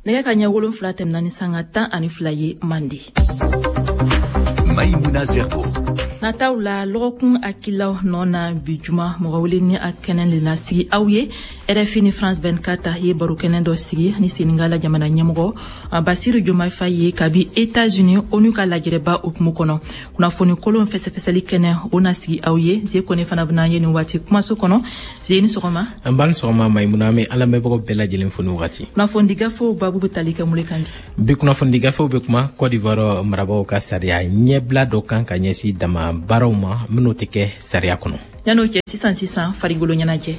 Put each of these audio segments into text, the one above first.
Nɛgɛ ka ɲɛ 7 tɛmɛna ni sanga 12 ye Mande. Maïmouna Zerbo. Nataw la lɔgɔkun hakililaw nɔ na bi juma mɔgɔ wele ni a kɛnɛ le na sigi aw ye. RFI ni France 24 ye baro kɛnɛ dɔ sigi ni Senegal jamana ɲɛmɔgɔ Bassirou Diomaye Faye ye kabi États-Unis ONU ka lajɛrɛba hukumu kɔnɔ. Kunnafoni kolon fɛsɛfɛsɛli kɛnɛ o na sigi aw ye. Ze Kone fana bɛna ye nin waati kumaso kɔnɔ. Ze, ni sɔgɔma. An b'a ni sɔgɔma Maïmouna, an bɛ an lamɛnbagaw bɛɛ lajɛlen fo nin wagati. Kunnafoni gafew babu bɛ tali kɛ mun de kan bi? Bi kunnafoni gafew bɛ kuma Côte d'Ivoire marabagaw ka sariya ɲɛbila dɔ kan ka ɲɛsin dama baaraw ma minnu tɛ kɛ sariya kɔnɔ. Yan'o cɛ, sisan sisan farikolo ɲɛnajɛ.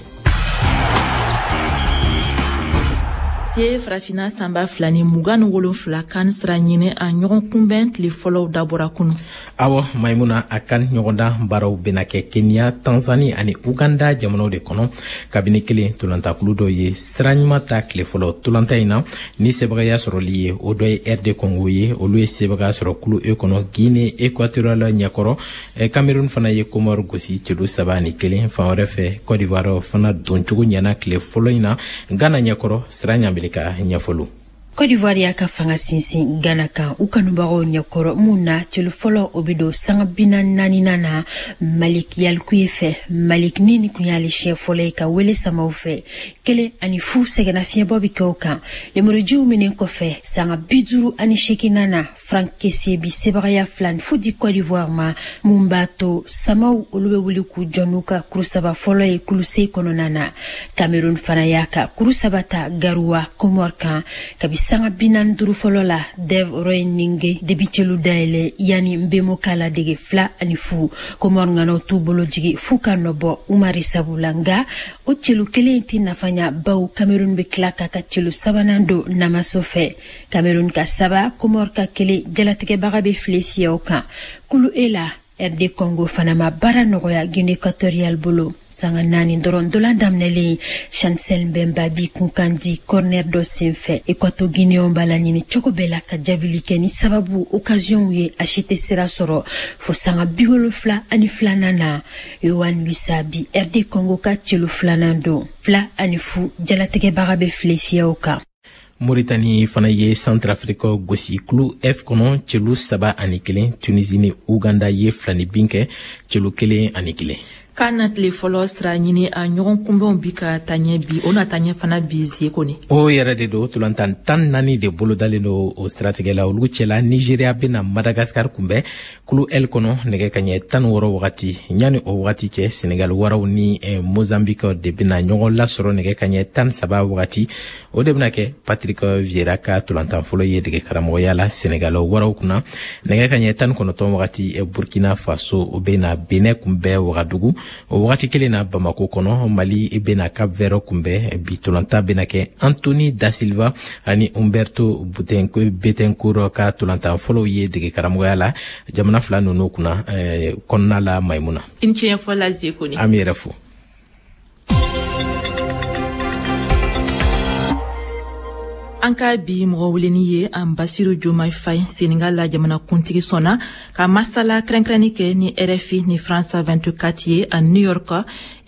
Se Farafina san 2027 kan sira ɲini a ɲɔgɔn kunbɛn tile fɔlɔw dabɔra kunu. Awɔ Maimuna, a kan ɲɔgɔndan baaraw bɛna kɛ Kenya, Tanzanie ani Uganda jamanaw de kɔnɔ. Kabini kelen tolantakulu dɔ ye sira ɲuman ta tile fɔlɔ tolanta in na ni sebagaya sɔrɔli ye, o dɔ ye RD Congo ye, olu ye sebagaya sɔrɔ kulu E kɔnɔ Guinée Équatoriale ɲɛkɔrɔ. Cameroun fana ye Comore gosi celu 3-1. Fan wɛrɛ fɛ, Côte d'Ivoire fana doncogo ɲɛna tile fɔlɔ in na Ghana ɲɛkɔrɔ. Sira ɲanbele ka ɲɛfɔliw. Côte d'Ivoire y'a ka fanga sinsin Ghana kan u kanubagaw ɲɛkɔrɔ mun na celu fɔlɔ o bɛ don sanga 44nan na Malik Yalikuye fɛ. Malik ni nin kun y'ale siɲɛ fɔlɔ ye ka wele samaw fɛ. 1-0 sɛgɛnna fiɲɛbɔ bɛ kɛ o kan. Lemurujiw minɛ kɔfɛ sanga 58nan na Franck Kessié bi sebagaya 2-0 di Côte d'Ivoire ma mun b'a to samaw olu bɛ wuli k'u jɔ n'u ka kuru saba fɔlɔ ye kulu C kɔnɔna na. Cameroun fana y'a ka kuru saba ta Garoua Comore kan kabi sanga 45 fɔlɔ la Dev Roy Ninge de bi celu dayɛlɛ yanni Nbemo k'a ladege 2-0. Comore ŋanaw t'u bolo jigi f'u ka nɔbɔ Umari sabu la, nka o celu kelen tɛ nafa ɲa bawo Cameroun bɛ tila k'a ka celu sabanan don namaso fɛ. Cameroun ka 3, Comore ka 1, jalatigɛbaga bɛ file fiyɛ o kan. Kulu E la, RD Congo fana ma baara nɔgɔya Guinée Équatoriale bolo. Sanga 4 dɔrɔn dolan daminɛlen Chancel Mbemba bi kunkan di corner dɔ senfɛ. Équato Guinéen b'a laɲini cogo bɛɛ la ka jaabili kɛ ni sababu occasion ye, a si tɛ sira sɔrɔ fo sanga 72nan na. Yohan Wissa bi RD Congo ka celu filanan don. 2-0 jalatigɛbaga bɛ file fiyɛ o kan. Mauritanie fana ye Centrafrique gosi kulu F kɔnɔ celu 3-1. Tunisie ni Uganda ye 2-0 kɛ celu 1-1. Kan na tile fɔlɔ sira ɲini a ɲɔgɔn kunbɛnw bi ka taa ɲɛ bi, o na taa ɲɛ fana bi Zie Kone. O yɛrɛ de don, tolantan 14 de bolodalen don o siratigɛ la. Olu cɛla Nigeria bɛna Madagascar kunbɛn kulu L kɔnɔ nɛgɛ kaɲɛ 16 wagati. Ɲani o wagati cɛ, Senegal waraw ni Mozambique de bɛna ɲɔgɔn lasɔrɔ nɛgɛ kaɲɛ 13 wagati. O de bɛna kɛ Patrick Vieira ka tolantan fɔlɔ ye dege karamɔgɔya la Senegal waraw kunna. Nɛgɛ kaɲɛ 19 wagati, Burkina Faso o bɛna Benin kunbɛn Ouagadougou. O wagati kelen na Bamako kɔnɔ, Mali bɛna Cap Vert kunbɛn. Bi tolantan bɛna kɛ Anthony Da Silva ani Humberto Betancourt ka tolantan fɔlɔw ye dege karamɔgɔya la jamana fila ninnu kunna kɔnɔna la Maimuna. I ni ce ɲɛfɔ la Zie Kone. An b'i yɛrɛ fo. An ka bi mɔgɔ weleni ye an Bassirou Diomaye Faye, Senegal la jamana kuntigi sɔnna ka masala kɛrɛnkɛrɛnni kɛ ni RFI ni France 24 ye a New York,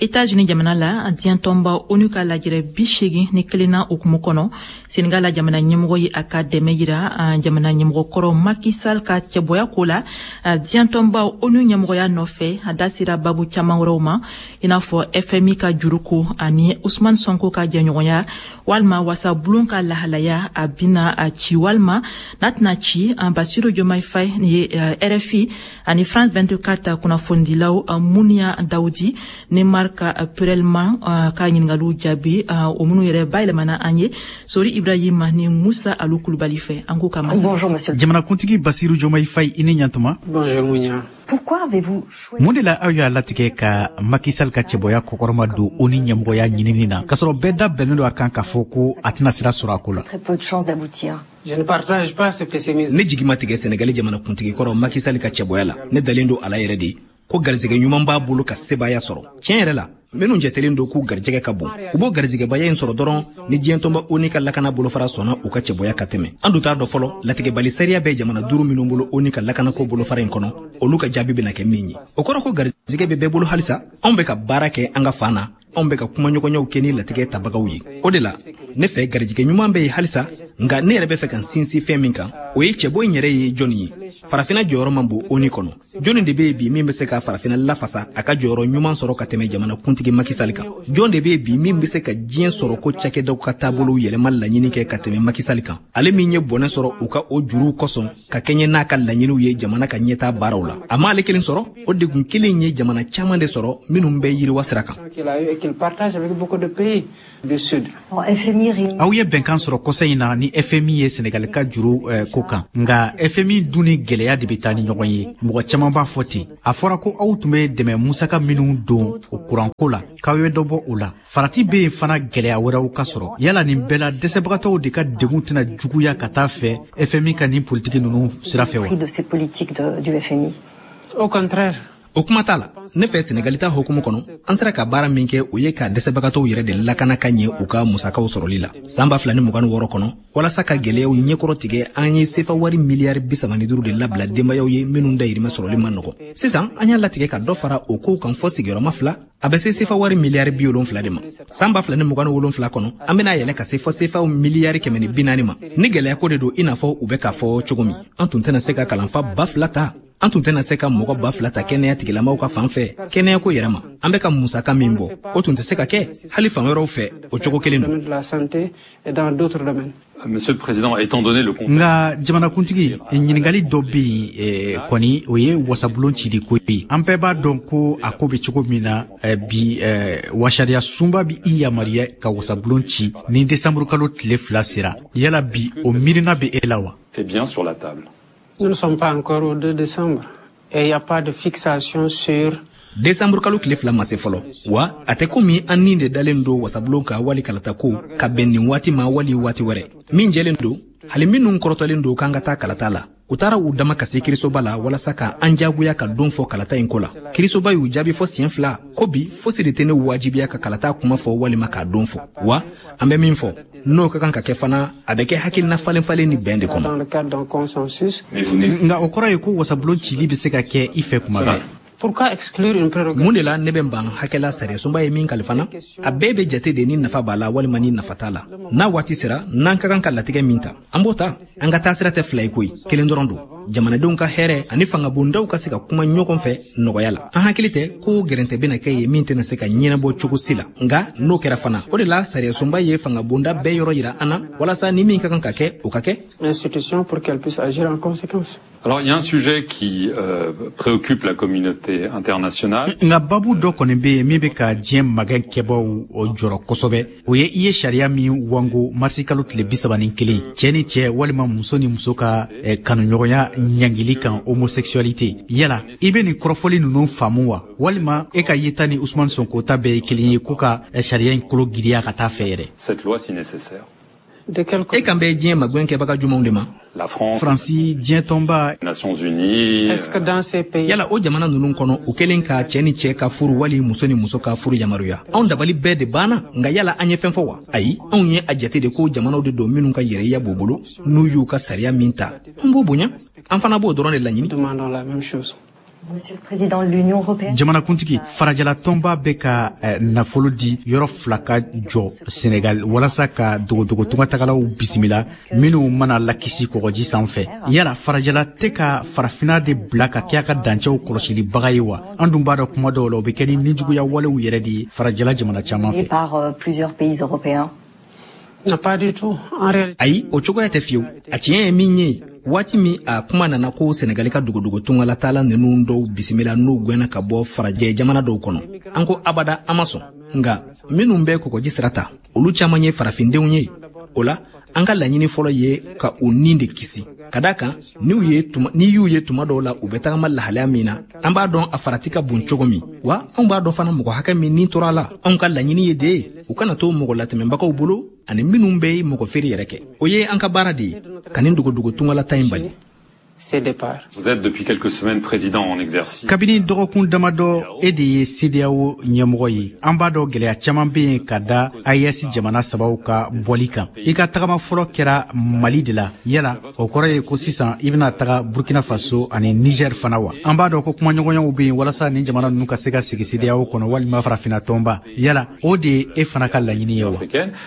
États-Unis jamana la, diɲɛ tɔnba ONU ka lajɛrɛ 81nan hukumu kɔnɔ. Senegal la jamana ɲɛmɔgɔ ye a ka dɛmɛ yira jamana ɲɛmɔgɔ kɔrɔ Macky Sall ka cɛbɔya ko la diɲɛ tɔnba ONU ɲɛmɔgɔya nɔfɛ. A da sera babu caman wɛrɛw ma, i n'a fɔ FMI ka juruko ani Ousmane Sonko ka jɛɲɔgɔnya walima wasabulon ka lahalaya a bina a ci walima n'a tɛna ci. An Bassirou Diomaye Faye ye RFI ani France 24 kunnafonidilaw Mounia Daoudi ni Marc Perelman ka ɲininkaliw jaabi, o minnu yɛrɛ bayɛlɛmana an ye Sori Ibrahima ni Musa Alu Kulubali fɛ. An k'u ka masa. Bonjour, monsieur. Jamanakuntigi Bassirou Diomaye Faye, i ni ɲantuma. Bonjour, Mounia. Pourquoi avez-vous choisi Mun de la aw y'a latigɛ ka Macky Sall ka cɛbɔya kɔkɔrɔma don ONU ɲɛmɔgɔya ɲinini na, k'a sɔrɔ bɛɛ da bɛnnen don a kan k'a fɔ ko a tɛna sira sɔrɔ a ko la? Très peu de chances d'aboutir. Je ne partage pas ce pessimisme. Ne jigi ma tigɛ Senegali jamanakuntigi kɔrɔ Macky Sall ka cɛbɔya la. Ne dalen don a la yɛrɛ de ko garijɛgɛ ɲuman b'a bolo ka sebaaya sɔrɔ. Tiɲɛ yɛrɛ la, minnu jatelen don k'u garijɛgɛ ka bon, u b'o garijɛgɛbaya in sɔrɔ dɔrɔn ni diɲɛ tɔnba ONU ka lakana bolofara sɔnna u ka cɛbɔya ka tɛmɛ. An dun t'a dɔn fɔlɔ latigɛbali sariya bɛ jamana 5 minnu bolo ONU ka lakanako bolofara in kɔnɔ, olu ka jaabi bɛna kɛ min ye. O kɔrɔ ko garijɛgɛ bɛ bɛɛ bolo halisa. Anw bɛ ka baara kɛ an ka fan na Anw bɛ ka kumaɲɔgɔnyaw kɛ ni latigɛ tabagaw ye. O de la, ne fɛ, garijɛgɛ ɲuman bɛ yen halisa. Nka ne yɛrɛ bɛ fɛ ka n sinsin fɛn min kan, o ye cɛbɔ in yɛrɛ ye jɔnni ye. Farafinna jɔyɔrɔ man bon ONU kɔnɔ. Jɔnni de bɛ yen bi min bɛ se ka farafinna lafasa, a ka jɔyɔrɔ ɲuman sɔrɔ ka tɛmɛ jamana kuntigi Macky Sall kan? Jɔn de bɛ yen bi min bɛ se ka diɲɛ sɔrɔ ko cakɛdaw ka taabolow yɛlɛma laɲini kɛ ka tɛmɛ Macky Sall kan, ale min ye bɔnɛ sɔrɔ u ka o juruw kosɔn ka kɛɲɛ n'a ka laɲiniw ye jamana ka ɲɛtaa baaraw la? A m'ale kelen sɔrɔ, o degun kelen ye jamana caman de sɔrɔ minnu bɛ yiriwa sira kan. Aw ye bɛnkan sɔrɔ kɔsa in na ni FMI ye Senegali ka juru ko kan. Nka FMI dun ni gɛlɛya de bɛ taa ni ɲɔgɔn ye, mɔgɔ caman b'a fɔ ten. A fɔra ko aw tun bɛ dɛmɛ musaka minnu don o kuranko la, k'aw ye dɔ bɔ o la. Farati bɛ yen fana gɛlɛya wɛrɛw ka sɔrɔ. Yala nin bɛɛ la, dɛsɛbagatɔw de ka degun tɛna juguya ka taa fɛ FMI ka nin politiki ninnu sira fɛ wa? Au contraire. O kuma t'a la. Ne fɛ, Senegali ta hukumu kɔnɔ, an sera ka baara min kɛ, o ye ka dɛsɛbagatɔw yɛrɛ de lakana ka ɲɛ u ka musakaw sɔrɔli la san 2026 kɔnɔ. Walasa ka gwɛlɛyaw ɲɛkɔrɔ tigɛ, an ye sefa wari miliyari 35 de labila denbayaw ye minnu dayirimɛ sɔrɔli man nɔgɔ. Sisan an y'a latigɛ ka dɔ fara o kow kan fɔ sigiyɔrɔma 2, a bɛ se sefa wari miliyari 70 de ma. San 2027 kɔnɔ, an bɛna yɛlɛ ka se fɔ sefa miliyari 140 ma. Ni gwɛlɛya ko de don, i n'a fɔ u bɛ k'a fɔ cogo min, an tun tɛna se ka kalanfa 2000 ta, an tun tɛna se ka mɔgɔ 2000 ta kɛnɛya tigilamaw ka fan fɛ. Kɛnɛyako yɛrɛ ma, an bɛ ka musaka min bɔ, o tun tɛ se ka kɛ hali fan wɛrɛw fɛ. O cogo kelen don. Monsieur le Président, étant donné le contexte. Nka jamanakuntigi, ɲininkali dɔ bɛ yen kɔni, o ye wasabulon cili ko ye. An bɛɛ b'a dɔn ko a ko bɛ cogo min na bi, wa sariya sunba bɛ i yamaruya ka wasabulon ci ni desanburu kalo tile 2 sera. Yala bi, o miirina bɛ e la wa? Est bien sur la table. Nous ne sommes pas encore au 2 décembre et il n'y a pas de fixation sur. Desanburu kalo tile 2 ma se fɔlɔ, wa a tɛ komi an ni de dalen don wasabulon ka wali kalata ko ka bɛn nin waati ma wali waati wɛrɛ. Min jɛlen don, hali minnu kɔrɔtɔlen don k'an ka taa kalata la, u taara u dama ka se kirisoba la walasa ka an jagoya ka don fɔ kalata in ko la. Kirisoba y'u jaabi fɔ siɲɛ 2 ko bi fosi de tɛ ne wajibiya ka kalata kuma fɔ walima k'a don fɔ. Wa an bɛ min fɔ, n'o ka kan ka kɛ fana, a bɛ kɛ hakilina falen falen ni bɛn de kɔnɔ. Nka o kɔrɔ ye ko wasabulon cili bɛ se ka kɛ i fɛ kuma bɛɛ? Pourquoi exclure une prérogative? Mun de la ne bɛ n ban hakɛla sariyasunba ye min kalifa na? A bɛɛ bɛ jate de ni nafa b'a la walima ni nafa t'a la. N'a waati sera, n'an ka kan ka latigɛ min ta, an b'o ta. An ka taasira tɛ fila ye koyi, kelen dɔrɔn don: jamanadenw ka hɛrɛ ani fangabondaw ka se ka kuma ɲɔgɔn fɛ nɔgɔya la. An hakili tɛ ko gɛrɛntɛ bɛna kɛ ye min tɛna se ka ɲɛnabɔ cogo si la. Nka n'o kɛra fana, o de la sariyasunba ye fangabonda bɛɛ yɔrɔ yira an na, walasa ni min ka kan ka kɛ, o ka kɛ. Institution pour qu'elle puisse agir en conséquence. Alors, il y a un sujet qui préoccupe la communauté internationale. Nka babu dɔ kɔni bɛ yen min bɛ ka diɲɛ magɛn kɛbaw jɔrɔ kosɛbɛ, o ye i ye sariya min wango marisi kalo tile 31, cɛ ni cɛ walima muso ni muso ka kanuɲɔgɔnya ɲangili kan, homosexualité. Yala i bɛ nin kɔrɔfɔli ninnu faamu wa, walima e ka yeta ni Ousmane Sonko ta bɛɛ ye kelen ye, ko ka sariya in kolo giriya ka taa fɛ yɛrɛ? Cette loi, si nécessaire. E kan bɛ diɲɛ magɛn kɛbaga jumɛnw de ma? La France, Faransi, diɲɛ tɔnba, Nations Unies. Est-ce que dans ces pays, Yala o jamana ninnu kɔnɔ, u kɛlen ka cɛɛ ni cɛɛ ka furu wali muso ni muso ka furu yamaruya, anw dabali bɛɛ de banna. Nka yala an ye fɛn fɔ wa? Ayi, anw ye a jate de ko jamanaw de don minnu ka yɛrɛya b'u bolo. N'u y'u ka sariya min ta, an b'o bonya, an fana b'o dɔrɔn de laɲini. Demandons la même chose. Monsieur le Président, l'Union européenne. Jamanakuntigi, farajɛla tɔnba bɛ ka nafolo di yɔrɔ fila ka jɔ Senegal walasa ka dogodogo tungatagalaw bisimila minnu mana lakisi kɔgɔji sanfɛ. Yala farajɛla tɛ ka farafina de bila ka kɛ a ka dancɛw kɔlɔsilibaga ye wa? An dun b'a dɔn, kuma dɔw la, o bɛ kɛ ni nijuguya walew yɛrɛ de ye farajɛla jamana caman fɛ. Par plusieurs pays européens. Non, pas du tout. En réalité, Ayi, o cogoya tɛ fiyewu. A tiɲɛ ye min ye, waati min a kuma nana ko Senegali ka dogodogo tungalatala ninnu dɔw bisimila n'u gwɛnna ka bɔ farajɛ jamana dɔw kɔnɔ, an ko abada, an ma sɔn. Nka minnu bɛ kɔgɔji sira ta, olu caman ye farafindenw ye. O la an ka laɲini fɔlɔ ye ka u nin de kisi, ka da kan n'i y'u ye tuma dɔw la, u bɛ tagama lahalaya min na, an b'a dɔn a farati ka bon cogo min. Wa anw b'a dɔn fana mɔgɔ hakɛ min nin tora a la. Anw ka laɲini ye de ye u kana to mɔgɔ latɛmɛbagaw bolo ani minnu bɛ mɔgɔ feere yɛrɛ kɛ. O ye an ka baara de ye, ka nin dogodogo tungalata in bali. ces départs. Vous êtes depuis quelques semaines président en exercice. Kabini dɔgɔkun damadɔ, e de ye CEDEAO ɲɛmɔgɔ ye. An b'a dɔn, gɛlɛya caman bɛ yen ka da AES jamana sabaw ka bɔli kan. I ka tagama fɔlɔ kɛra Mali de la. Yala o kɔrɔ ye ko sisan i bɛna taga Burkina Faso ani Niger fana wa? An b'a dɔn ko kumaɲɔgɔnyaw bɛ yen walasa nin jamana ninnu ka se ka sigi CEDEAO kɔnɔ walima Farafinna tɔnba. Yala o de ye e fana ka laɲini ye wa?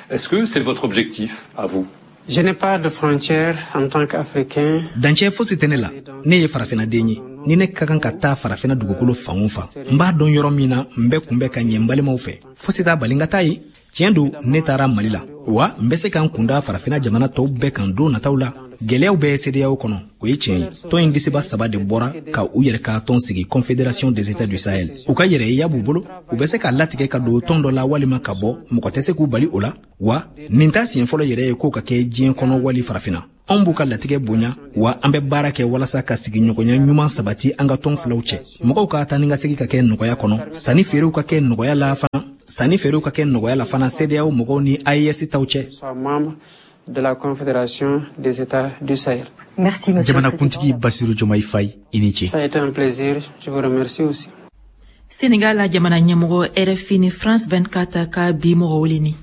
Est-ce que c'est votre objectif à vous? Je n'ai pas de frontières en tant qu'Africain. Dancɛ fosi tɛ ne la. Ne ye farafinnaden ye. Ni ne ka kan ka taa Farafina dugukolo fan o fan, n b'a dɔn yɔrɔ min na n bɛ kunbɛn ka ɲɛ n balimaw fɛ, fosi t'a bali n ka taa yen. Tiɲɛ don, ne taara Mali la, wa n bɛ se ka n kunda Farafina jamana tɔw bɛɛ kan don nataw la. Gɛlɛyaw bɛ CEDEAO kɔnɔ, o ye tiɲɛ ye. Tɔn in disiba saba de bɔra ka u yɛrɛ ka tɔn sigi, Confédération des États du Sahel. U ka yɛrɛyeya b'u bolo, u bɛ se k'a latigɛ ka don tɔn dɔ la walima ka bɔ, mɔgɔ tɛ se k'u bali o la. Wa nin t'a siɲɛ fɔlɔ yɛrɛ ye k'o ka kɛ diɲɛ kɔnɔ wali Farafina. Anw b'u ka latigɛ bonya, wa an bɛ baara kɛ walasa ka sigiɲɔgɔnya ɲuman sabati an ka tɔn filaw cɛ. Mɔgɔw ka taa ni ka segin ka kɛ nɔgɔya kɔnɔ, sanni feerew ka kɛ nɔgɔya la fana, sanni feerew ka kɛ nɔgɔya la fana CEDEAO mɔgɔw ni AES taw cɛ. De la Confédération des États du Sahel. Merci, monsieur. Jamanakuntigi Basiru Jomayi Fayi, i ni ce. Ça a été un plaisir. Je vous remercie aussi. Sénégal la jamana ɲɛmɔgɔ, RFI ni France 24 ka bi mɔgɔ weleni.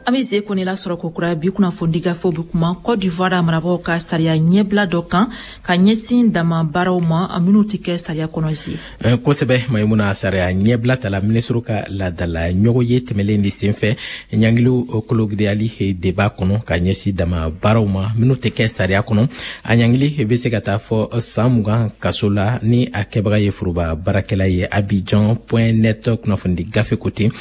An bɛ ze kɔni lasɔrɔ kokura. Bi kunnafoni gafew bɛ kuma Côte d'Ivoire marabagaw ka sariya ɲɛbila dɔ kan ka ɲɛsin dama baaraw ma minnu tɛ kɛ sariya kɔnɔ si. Kosɛbɛ Mayimuna, sariya ɲɛbila tala minisiriw ka laadala ɲɔgɔn ye tɛmɛlen de senfɛ. Ɲangiliw kologiriyali de b'a kɔnɔ ka ɲɛsin dama baaraw ma minnu tɛ kɛ sariya kɔnɔ. A ɲangili bɛ se ka taa fɔ san 20 kaso la ni a kɛbaga ye foroba baarakɛla ye. Abidjan.net kunnafoni gafe ko ten.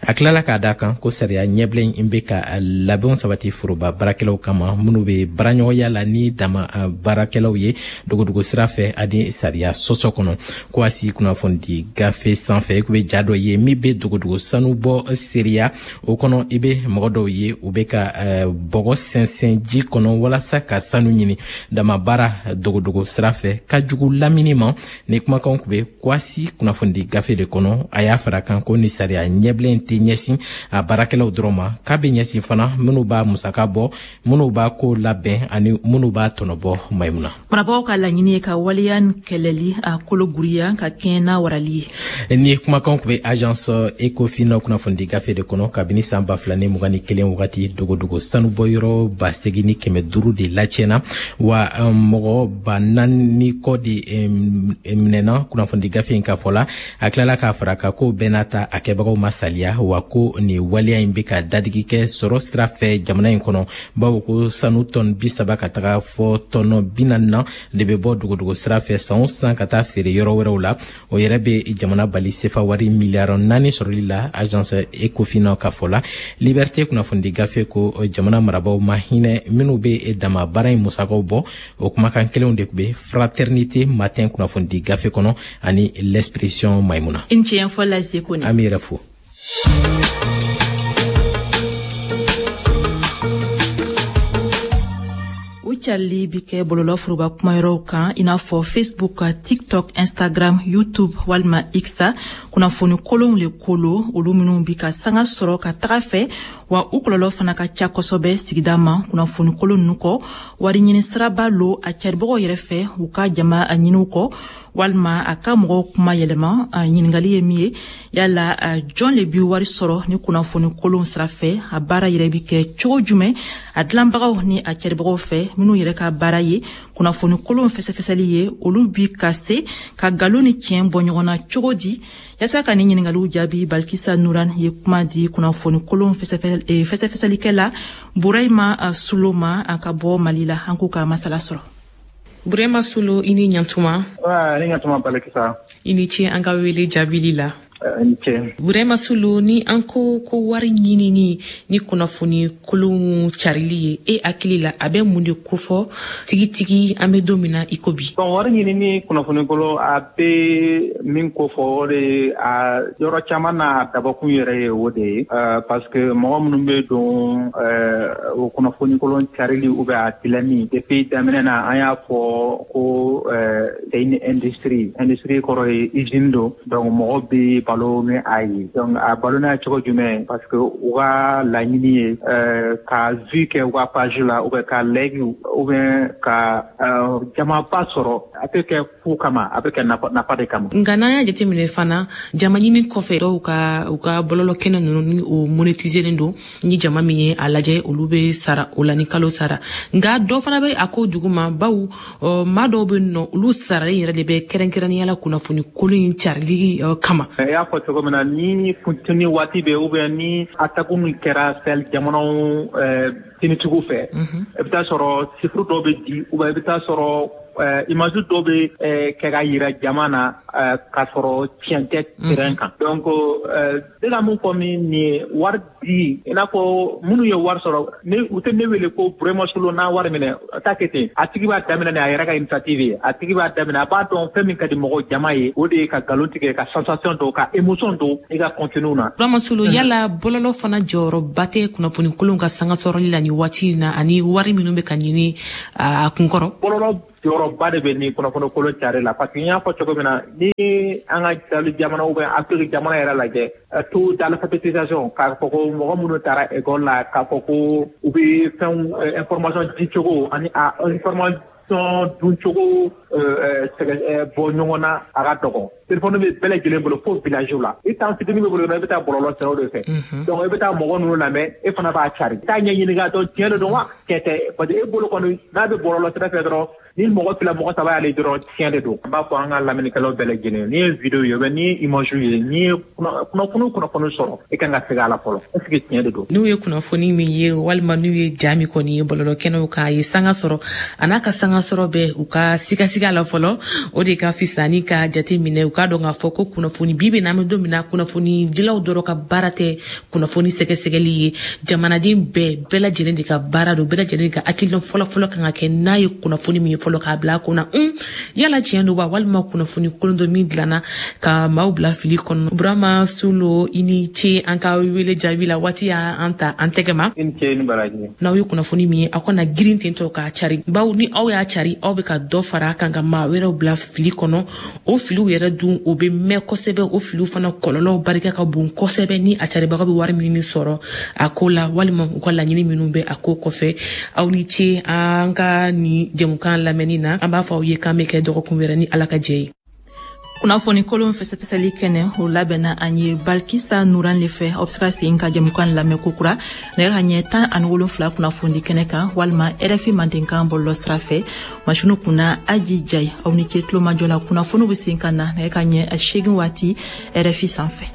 A tilala k'a da kan ko sariya ɲɛbila in bɛ ka labɛnw sabati foroba baarakɛlaw kama minnu bɛ baaraɲɔgɔnya la ni dama baarakɛlaw ye dogodogo sira fɛ ani sariya sɔsɔ kɔnɔ. Ko a si kunnafoni gafe sanfɛ, i kun bɛ ja dɔ ye min bɛ dogodogo sanu bɔ seereya o kɔnɔ. I bɛ mɔgɔ dɔw ye, u bɛ ka bɔgɔ sɛnsɛn ji kɔnɔ walasa ka sanu ɲini. Dama baara dogodogo sira fɛ ka jugu lamini ma. Ni kumakanw kun bɛ Kwasi kunnafoni gafe de kɔnɔ. A y'a fara kan ko ni sariya ɲɛbilen tɛ ɲɛsin a baarakɛlaw dɔrɔn ma, k'a bɛ ɲɛsin fana minnu b'a musaka bɔ, minnu b'a ko labɛn ani minnu b'a tɔnɔbɔ. Mayimuna, marabagaw ka laɲini ye ka waleya kɛlɛli a kolo guriya ka kɛɲɛ n'a warali ye. Ni kumakanw kun bɛ Agence Ecofin kunnafoni gafe de kɔnɔ. Kabini san 2021 wagati, dogodogo sanubɔyɔrɔ 8500 de latiɲɛna, wa mɔgɔ 4000 kɔ de minɛna kunnafoni gafe in ka fɔ la. A tilala k'a fara kan ko bɛɛ n'a ta, a kɛbagaw ma saliya, wa ko nin waleya in bɛ ka dadigi kɛ sɔrɔ sira fɛ jamana in kɔnɔ, bawo ko sanu tɔn 30 ka taga fɔ tɔnɔ 40 na de bɛ bɔ dogodogo sira fɛ san o san ka taa feere yɔrɔ wɛrɛw la. O yɛrɛ bɛ jamana bali sefa wari miliyari 4 sɔrɔli la, Agence Ecofin ka fɔ la. Liberté kunnafoni gafe ko jamana marabaaw ma hinɛ minnu bɛ dama baara in musakaw bɔ. O kumakan kelenw de tun bɛ Fraternité Matin kunnafoni gafe kɔnɔ ani L'Expression. Maimuna, i ni ce fɔ lase ko. An b'i yɛrɛ fo. U carili bi kɛ bɔlɔlɔ foroba kumayɔrɔw kan, i n'a fɔ Facebook, TikTok, Instagram, YouTube walima X. Kunnafoni kolonw le kolo, olu minw bi ka sanga sɔrɔ ka taga fɛ, wa u kɔlɔlɔ fana ka ca kosɛbɛ sigida ma. Kunnafoni kolon nunu kɔ, wari ɲini siraba lo a caribagaw yɛrɛ fɛ u ka jama a ɲiniw kɔ walima a ka mɔgɔw kuma yɛlɛma. Ɲiningali ye min ye, yala jɔn le bi wari sɔrɔ ni kunnafoni kolon sira fɛ? A baara yɛrɛ bi kɛ cogo jumɛn a dilanbagaw ni a caribagaw fɛ, minw yɛrɛ ka baara ye kunnafoni kolon fɛsɛfɛsɛli ye? Olu bi ka se ka nkalon ni tiɲɛ bɔ ɲɔgɔn na cogo di? Yaasa ka ni ɲiningaliw jaabi, Balikisa Nuran ye kuma di kunnafoni kolon fɛsɛfɛsɛlikɛla Burayima Sulo ma ka bɔ Mali la. An k'u ka masala sɔrɔ. Burema Sulo, i ni ɲantuma. Ni ɲantuma, Balikisa. I ni ce an ka wele jaabili la. Ni ce. Burema Sulo, ni an ko ko wari ɲinini ni kunnafoni kolonw carili ye, e hakili la, a bɛ mun de kofɔ tigitigi an bɛ don min na i ko bi? Bon, wari ɲinini kunnafoni kolon, a bɛ min kofɔ, o de a yɔrɔ caman na, a dabɔkun yɛrɛ ye o de ye, parce que mɔgɔ minnu bɛ don o kunnafoni kolon carili ou bien a dilanni, depuis daminɛ na an y'a fɔ ko c'est une industrie. Industrie kɔrɔ ye usine don. Donc mɔgɔ bɛ balo ni a ye. Donc a balo n'a cogo jumɛn? Parce que u ka laɲini ye ka vue kɛ u ka page la, ou bien ka like, ou bien ka jamaba sɔrɔ. A tɛ kɛ fu kama, a bɛ kɛ nafa de kama. Nka n'an y'a jateminɛ fana, jama ɲini kɔfɛ, dɔw ka u ka bɔlɔlɔ kɛnɛ ninnu ni o monétiselen don, ni jama min ye a lajɛ, olu bɛ sara o la ni kalo sara. Nka dɔ fana bɛ a ko duguma, bawo maa dɔw bɛ nɔ, olu saralen yɛrɛ de bɛ kɛrɛnkɛrɛnnenya la kunnafoni kolon in carili kama. I y'a fɔ cogo min na, ni funteni waati bɛ, ou bien ni attaque min kɛra Sahel jamanaw tinitigiw fɛ, i bɛ taa sɔrɔ chiffre dɔw bɛ di, ou bien i bɛ taa sɔrɔ image dɔw bɛ kɛ ka yira jama na k'a sɔrɔ tiɲɛ tɛ terrain kan. Donc ne ka mun fɔ min nin ye, wari di, i n'a fɔ minnu ye wari sɔrɔ, ne u tɛ ne wele ko Burema Solo n'a wari minɛ, a t'a kɛ ten. A tigi b'a daminɛ ni a yɛrɛ ka initiative ye. A tigi b'a daminɛ, a b'a dɔn fɛn min ka di mɔgɔw jama ye, o de ye ka nkalon tigɛ, ka sensation don, ka émotion don i ka contenu na. Burama Solo, yala bɔlɔlɔ fana jɔyɔrɔba tɛ kunnafoni kolonw ka sanga sɔrɔli la nin waati in na, ani wari minnu bɛ ka ɲini a kunkɔrɔ? Bɔlɔlɔ jɔyɔrɔba de bɛ nin kunnafoni kolon cari la, parce que n y'a fɔ cogo min na, ni an ka Sahel jamana ou bien Afrique jamana yɛrɛ lajɛ, taux d'alphabétisation, k'a fɔ ko mɔgɔ minnu taara école la, k'a fɔ ko u bɛ fɛnw information di cogo ani a information dun cogo bɔ ɲɔgɔn na, a ka dɔgɔ. Téléphone bɛ bɛɛ lajɛlen bolo fo village la. I temps fitinin bɛ bolo, i bɛ taa bɔlɔlɔ siraw de fɛ. Donc i bɛ taa mɔgɔ ninnu lamɛn, e fana b'a cari, i t'a ɲɛɲini k'a dɔn tiɲɛ de don wa tiɲɛ tɛ, parce que e bolo kɔni, n'a bɛ bɔlɔlɔ sira fɛ dɔrɔn, ni mɔgɔ fila, mɔgɔ saba y'ale dɔrɔn, tiɲɛ de don. An b'a fɔ an ka lamɛnnikɛlaw bɛɛ lajɛlen, n'i ye vidéo ye, n'i ye image ye, n'i ye kunnafoni sɔrɔ, i kan ka segin a la fɔlɔ, est ce que tiɲɛ de don? N'u ye kunnafoni min ye, walima n'u ye ja min kɔni ye bɔlɔlɔ kɛnɛw kan, a ye sanga sɔrɔ, a n'a ka sanga sɔrɔ bɛ, u ka sigasiga la fɔlɔ, o de ka fisa ni ka jate minɛ. U k'a dɔn k'a fɔ ko kunnafoni bi bɛ n'an bɛ don min na, kunnafoni dilaw dɔrɔn ka baara tɛ kunnafoni sɛgɛsɛgɛli ye. Jamanaden bɛɛ lajɛlen de ka baara don, bɛɛ lajɛlen ka hakilina fɔlɔ-fɔlɔ kan ka kɛ n'a ye kunnafoni min ye fɔlɔ, k'a bila a kunna yala tiɲɛ don wa, walima kunnafoni kolon dɔ min dilanna ka maaw bila fili kɔnɔ. Burama Solo, i ni ce an ka wele jaabi la. Waati y'an ta an tɛgɛ ma. I ni ce, ni baraji. N'aw ye kunnafoni min ye, aw kana girin tentɔ k'a cari, bawo ni aw y'a cari, aw bɛ ka dɔ fara a kan ka maa wɛrɛw bila fili kɔnɔ. O filiw yɛrɛ dun, o bɛ mɛn kosɛbɛ. O filiw fana kɔlɔlɔw barika ka bon kosɛbɛ, ni a caribaga bɛ wari min sɔrɔ a ko la, walima u ka laɲini minnu bɛ a ko kɔfɛ. Aw ni ce an ka nin jɛmukan lamɛnni na. An b'a fɔ aw ye k'an bɛ kɛ dɔgɔkun wɛrɛ ni Ala ka jɛ ye. Kunnafoni kolon fɛsɛfɛsɛli kɛnɛ, o labɛnna an ye Balikisa Nuran le fɛ. Aw bɛ se ka segin ka jɛmukan lamɛn kokura nɛgɛ ka ɲɛ 17 kunnafoni kɛnɛ kan, walima RFI Mandenkan bɔlɔlɔ sira fɛ. Masiniw kunna, Aji Jayi. Aw ni ce tulomajɔ la. Kunnafoniw bɛ segin ka na nɛgɛ ka ɲɛ 8 waati RFI sanfɛ.